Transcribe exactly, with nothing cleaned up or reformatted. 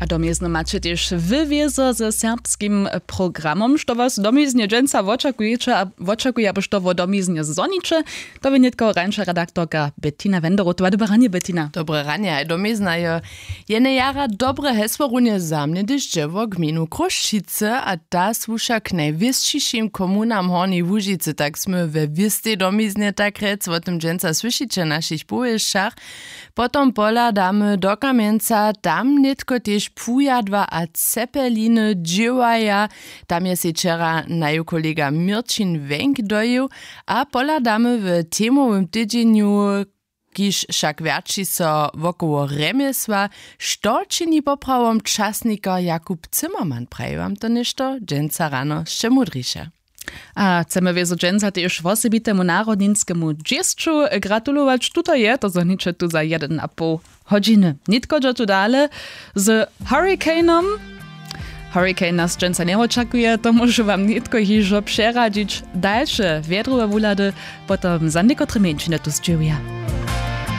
A domiznu maće tež wy wězo ze serbskim programom što was domiznie dźensa wočakujeće a wočakuje abo što wo domiznie zhoniće. To bě nětko rańša redaktorka Bettina Wenderotowa. Dobre ranje, Bettina. Dobre ranje haj domizna jo. Jene jara dobre hesło runje za mnje hdyž dźe wo gminu Chrósćicy a ta słuša k najwěsćišim komunam Hornjeje Łužicy tak smy we wěstej domiznie tak rjec wo tym dźensa słyšiće w našich powěsćach. Potom pohladamy do kamjenca tam nětko tež pujadła a cepeliny dźěłaja. Tam je sej wčera naju kolega měrćin wenk dojěł. A pohladamy w temowym tydźenju, kiž wšak wjerći so wokoło rjemjesła, što čini poprawom časnikar jakub zimmermann praji wam to něšto dźensa rano sće mudriše. A chcemy wězo dźensa tež wosebitemu narodninskemu dźěsću gratulować tuto je to zhoniće tu za jedyn a poł hodźiny nětko dźo tu dale z hurricanom. Hurricane nas dźensa njewočakuje to móžu wam nětko hižo přeradźić dalše wjedrowe wuhlady. Potom za někotre mjeńšiny tu sćěhuja.